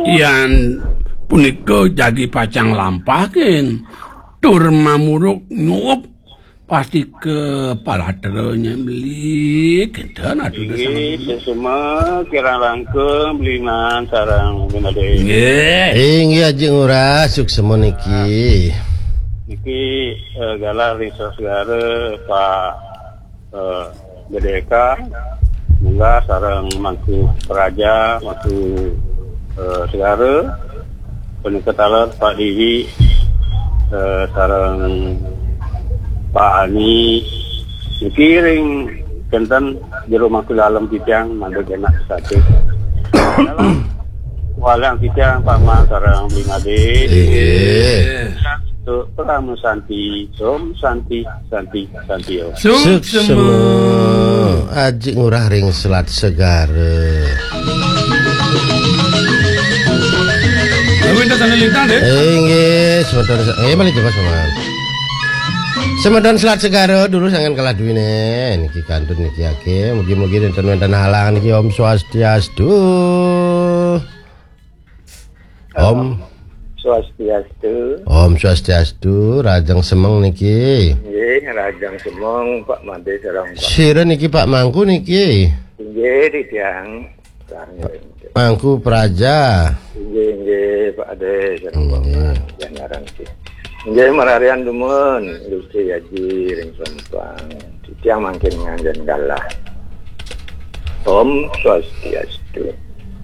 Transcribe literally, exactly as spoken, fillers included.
Yan punika jagi pacang lampahin tur mamuruk nyuup pasti ka palatranya beli kinten atuh. Inggih, sesama kirang langkung belinan sareng Bunda Dé. Nggih. Inggih, Aji Ngurah, suksema niki. Niki, eh, galah ring segara Pak, eh, Gedeka, munggah sareng Mangku Praja, Mangku, eh, Segara, punika taler Pak Diwi, eh, sareng Pak Ani, niki ring kenten jero Mangku Dalem titiang mangda genah satu. Walang titiang Pak Man sareng Bli Madé. Inggih. Untuk Parama Santi, Om Santi, Santi, Santi Om. Suksema. Aji Ngurah ring Selat Segara. Lalu kita sana lintang deh. Inggih, semeton, eh, malih jebos, Paman. Semeton Selat Segara dulu sangan kalah duwine. Niki kantun niki ake. Mugi-mugi nenten wenten halangan niki. Om Swastiastu. Om. Swastiastu. Om Swastiastu, rajeng semeng niki. Nggih, rajeng semeng Pak Madé sareng Pak. Sira niki Pak Mangku niki. Inggih, titiang. Mangku Praja. Inggih, inggih, Pak Adé sareng Pak Nggih. Man. Nggih, mararian dumun, Gusti Aji ring Sampang. Titiang mangkin nganjen galah. Om Swastiastu.